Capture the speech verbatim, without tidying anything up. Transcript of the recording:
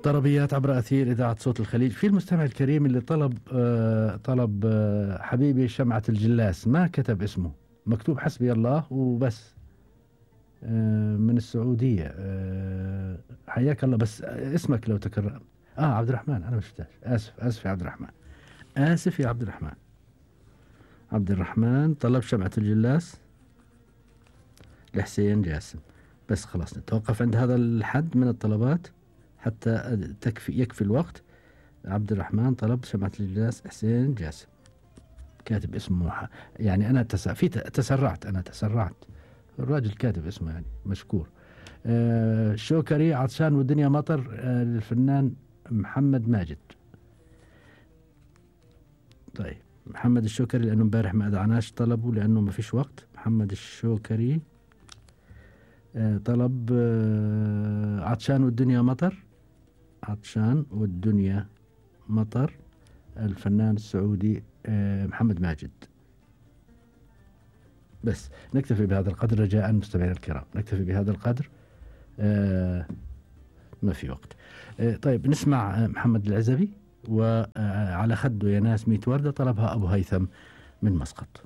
طربيات عبر أثير إذاعة صوت الخليج. في المستمع الكريم اللي طلب آه طلب آه حبيبي شمعة الجلاس، ما كتب اسمه، مكتوب حسبي الله وبس. آه من السعودية. آه حياك الله، بس اسمك لو تكرر. آه عبد الرحمن، أنا مش شفتهاش. آسف آسف يا عبد الرحمن، آسف يا عبد الرحمن. عبد الرحمن طلب شمعة الجلاس لحسين جاسم. بس خلاص نتوقف عند هذا الحد من الطلبات حتى تكفي يكفي الوقت. عبد الرحمن طلب شمعة الجلاس حسين جاسم، كاتب اسمه ح... يعني أنا تس... في تسرعت أنا تسرعت الراجل كاتب اسمه يعني مشكور. آه شوكري عطشان والدنيا مطر، آه للفنان محمد ماجد. طيب محمد الشوكري لأنه امبارح ما أدعناش طلبه لأنه ما فيش وقت. محمد الشوكري آه طلب آه عطشان والدنيا مطر، عطشان والدنيا مطر، الفنان السعودي آه محمد ماجد. بس نكتفي بهذا القدر رجاء مستمعينا الكرام، نكتفي بهذا القدر. آه ما في وقت. آه طيب نسمع محمد العزبي وعلى خده يا ناس ميت وردة، طلبها أبو هيثم من مسقط.